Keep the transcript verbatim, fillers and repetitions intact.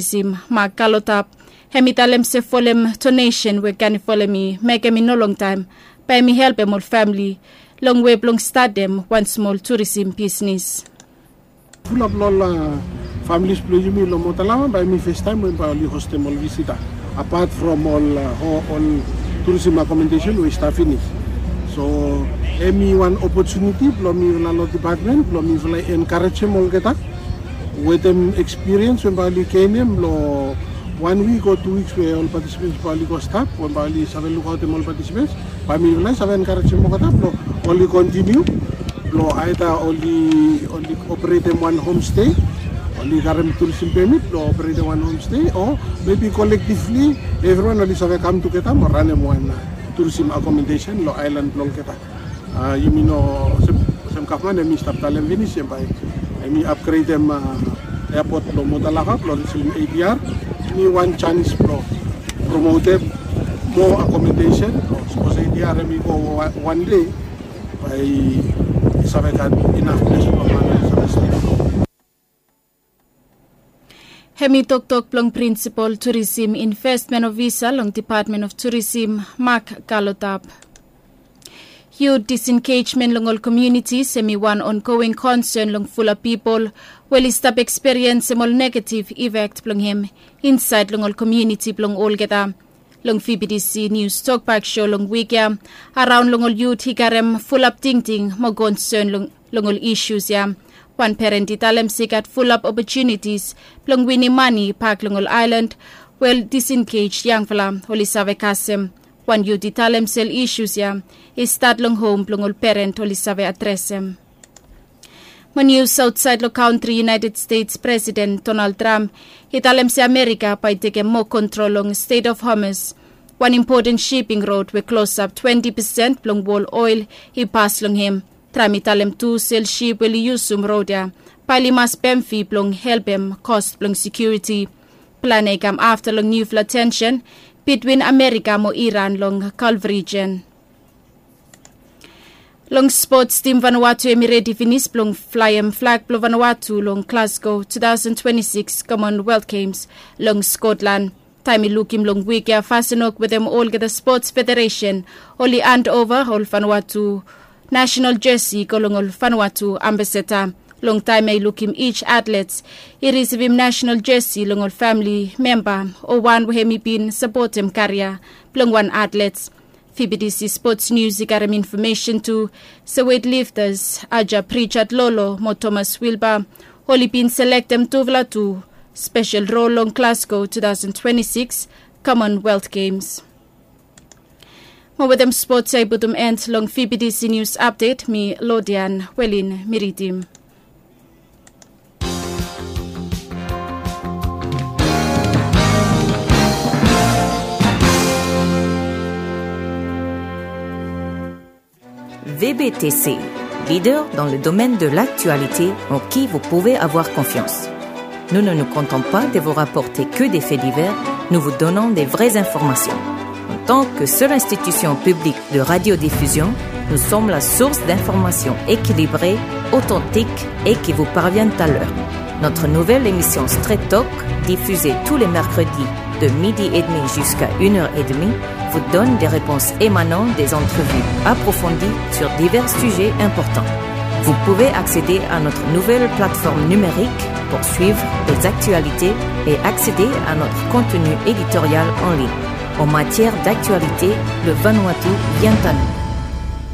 Tourism Mark Kalotap, hem i talem se folem donesen we Ganifol hem i mekem i no longtaem, bae hem i helpem ol famili long wei blong statem wan smol tourism bisnis. Fulap long ol familis blong yumi long Motalawa bae hem i festaem we bae oli hostem ol visita, apat from ol ol tourism akomodesen we i stap finis. So hem i wan opotuniti blong mifala long depatmen blong mifala i enkarejem olgeta wetem ekspiriens we bae oli genem long wan wik o tu wiks we ol patisipens bae oli go stap we bae oli save lukaotem ol patisipens. Bae mifala i save enkarejem olgeta blong oli kontiniu blong aeda oli operetem wan homstei, oli karem tourism pemit blong operetem wan homstei, o mebi kolektivli evriwan oli save kam tugeta mo ranem wan tourism akomodesen long aelan blong olgeta. Yumi no olsem gavman hem i stap talem finis hem bae hem i apgredem eapot blong Motalawa blong risim ADR. Hem i wan janis blong promotem moa akomodesen blong sapos ADR hem i go wan dei bae i save gat inaf ples blong man i save stap. Hem i toktok blong prinsipol tourism investment ofisa long Department of Tourism, Mark Kalotap. Yut disengejmen long ol komiunitis hem i wan ongoing konsen long fulap pipol we oli stap ekspiriensem ol negativ ifek blong hem insaed long ol komiuniti blong olgeta. Long VBTC Nius Tokbak Sho long wik ya, araon long ol yut i karem fulap tingting mo konsen long ol isus ya. Wan peren i talem se i gat fulap opotunitis blong winim mane bak long ol aelan we ol disengej yangfala oli save kasem. Wan yut i talem se ol isus ya i stat long hom blong ol peren oli save adresem. Mo nius aotsaed long kantri, United States Presiden Donald Trump i talem se Amerika bae i tekem moa kontrol long Strait of Hormuz, wan impoten siping rod we klosap twenti pesen blong wol oel i pas long hem. Trump i talem tu se ol sip we oli yusum rod ya bae oli mas pem fi blong helpem kos blong sekiuriti. Plan ya i kam afta long niufala tensen bitwin Amerika mo Iran long Gulf rijen. Long spots, tim Vanuatu hem i redi finis blong flaem flag blong Vanuatu long Glasgow two thousand twenty-six Commonwealth Games long Scotland. Taem i lukim long wik ya, Fasinok wetem olgeta spots federesen oli andova ol Vanuatu nasenal jesi go long ol Vanuatu ambasada. Long taem ya i lukim each atlets i risivim nasenal jesi long ol famili memba o wan we hem i bin sapotem karia blong wan atlets. VBTC Spots Nius i karem infomesen tu se weitliftas Aja Pritchard Lolo mo Thomas Wilbur oli bin selektem tufala tu spesel rol long Glasgow two thousand twenty-six Commonwealth Games. Mo wetem spots ya i putum end long VBTC Nius Apdet. Mi Lodian Welin mi ridim. VBTC, leader dans le domaine de l'actualité en qui vous pouvez avoir confiance. Nous ne nous contentons pas de vous rapporter que des faits divers, nous vous donnons des vraies informations. En tant que seule institution publique de radiodiffusion, nous sommes la source d'informations équilibrées, authentiques et qui vous parviennent à l'heure. Notre nouvelle émission Straight Talk, diffusée tous les mercredis de midi et demi jusqu'à une heure et demie, vous donne des réponses émanant des entrevues approfondies sur divers sujets importants. Vous pouvez accéder à notre nouvelle plateforme numérique pour suivre les actualités et accéder à notre contenu éditorial en ligne. En matière d'actualité, le Vanuatu vient à nous.